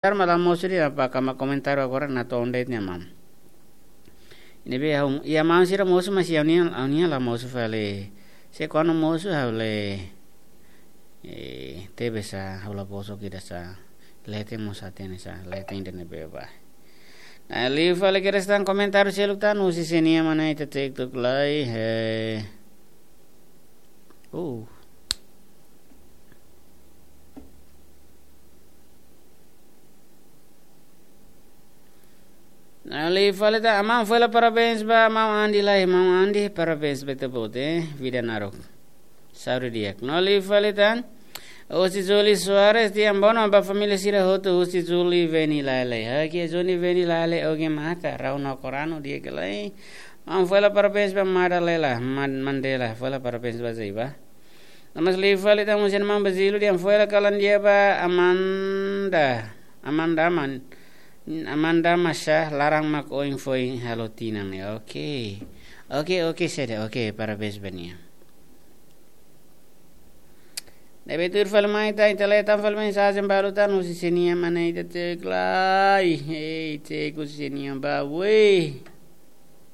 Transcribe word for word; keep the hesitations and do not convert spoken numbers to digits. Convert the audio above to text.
komentáriu mak la mosu de'it, apa kama komentáriu agora natoon de'it ne'e, maun. Ne'ebé ha'u, iha maun sira mosu, mas iha ha'u-nian, ha'u-nian la mosu fali. Se kuandu mosu ha'u lee, eh, tebe sa, ha'u la bosok ida sa, leten mós hatene sa, leten ida ne'ebé ba. Nah, liu fali kedas tan komentáriu seluk tan, husi sé nian mak ne'e ita TikTok lai, eh. Uh. Nah, liu fali tan, maun Fuela, parabéns ba maun Andi lai, maun Andi, parabéns ba ita-boot, eh, vida naruk. Saúde di'ak. No liu fali tan, husi Julie Soares, di'ak, boa noite ba família sira hotu, husi Julie Veni Lale. Oke, Julie Veni Lale, oke, mata, rau no koranu di'ak lai. Maun Fuela, parabéns ba Mada Lela, Man-, Mandela, Fuela, parabéns ba Zaiba. No mós liu fali tan husi maun Bazilu, di'ak, Fuela, kalan di'ak ba Amanda, Amanda man, Amanda Masha, laran mak oin foin halo tinan ne'e. Oke. Oke, oke, sé de'it, oke, parabéns ba nia. Ne'ebé tuir fali mai tan, ita lee tan fali mensajen balu tan, husi sé nian mak ne'e ita TikTok lai. Hei, TikTok husi sé nian ba, weh.